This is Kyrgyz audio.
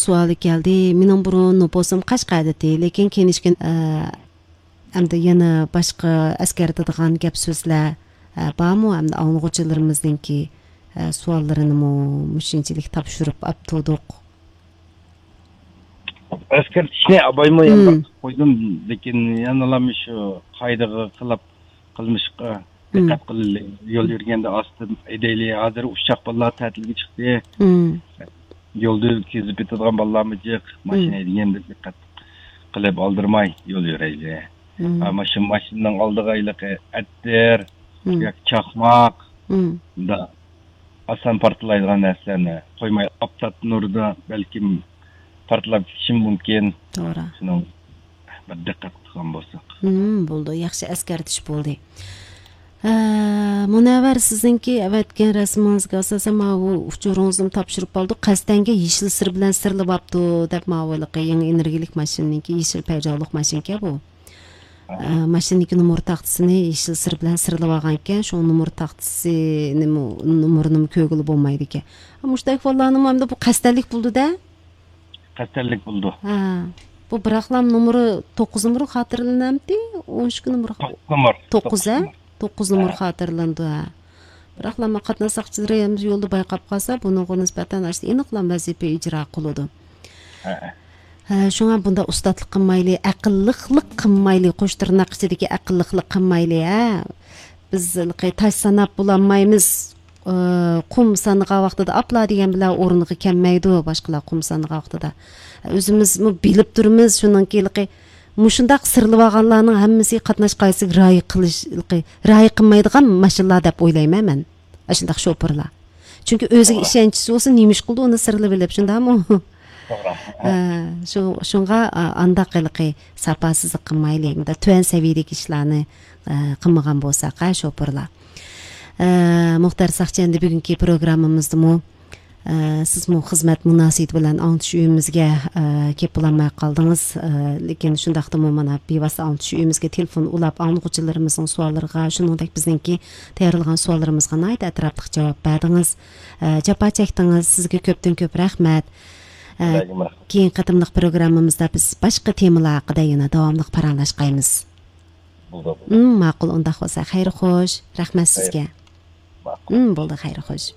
суалы келди. Менин бурун нопосум Кашкарда, лекин кенишкен эмди yana башка аскертадыган геп сөзлөр бармы? Эмди аңлыгычыларыбыздыңки суалларын мушунчалык тапшырып аптодук. Аскертишне абаймы эми койдум, лекин яналам ушу кайдыгы кылмышка диккат кылалы. Жол жүргөндө астын эдели азыр учак балдар татилге чыкты. Жолду кезип кетadigan балдармы жок, машина дегенде диккат кылып алдырмай жол жүрөйлү. Машинаның алдыга илеке әттер, чакмак, да асан партылайдыган нерселерни коймай аптаттын ордуна балким партылап кетиши мүмкүн. Туура. Шуну бир диккат кылган болсок. Болду, жакшы эскертиш болду. Мунабар сиздинки эветкен расмыңызга асасан мабу учуруңузду тапшырып болду. Кастенге Yeşil Sır bilen сырлып апту деп мабылык эң энергилик машинаники Yeşil Peugeot'лук машинке бу. Машинаники номер тактысыны Yeşil Sır bilen сырлып алган экен. Ошол номер тактысы номерунун көгүлү болмойт экен. Муштайк балларнын эмде бу кастелик болду да? Кастелик болду. Бу бираклам номери 9 номер хатırlanамды? 13 номер. 9 9 номер хатırlanды. Бираклама катнашчылар жолду байкап калса, буга нисбатан эниклам вазифа ижра кылды. Шуңа бунда устатлык кылмайлы, акыллыклык кылмайлы, коштурнак ичидеги акыллыклык кылмайлы. Биз таш санап буламайбыз. Кум саныга вактыда апла деген биле орунга келмейди, башкалар кум саныга вактыда. Өзүбүз билип турмуз, шунун келиqi мушундак сырлып алганларнын хаммасы катнашкайсы рай кылмайдыган машиналар деп ойлоймун мен. Ашындак шопурлар. Чүнкү өзүгө ишенчиси болсун, немиш кылды, уну сырлып билип, шундамы? Шунга анда кылыкы сапасыздык кылмайлы, мында төөн севиядеги ишlarni кылмаган болсак, шопурлар. Мухтар Сакченди бүгүнкү программамызды siz xizmat munosabati bilan аңтыш үйүмүзгө кеп буламай калдыңыз. Лекин шундакта мана беваса аңтыш үйүмүзгө телефон улап аңлыгычыларыбыздын суалларга, шунуңдак биздинки даярдалган суалларыбызга найт атраптык жооп бердиңиз. Жапа чектиңиз, сизге көптөн көп рахмат. Кийин кытымдык программамызда биз башка темалар хакында yana давамлык паралашкайбыз. Макул, онда болсо хайыр хош. Рахмат сизге. Болду, хайыр хош.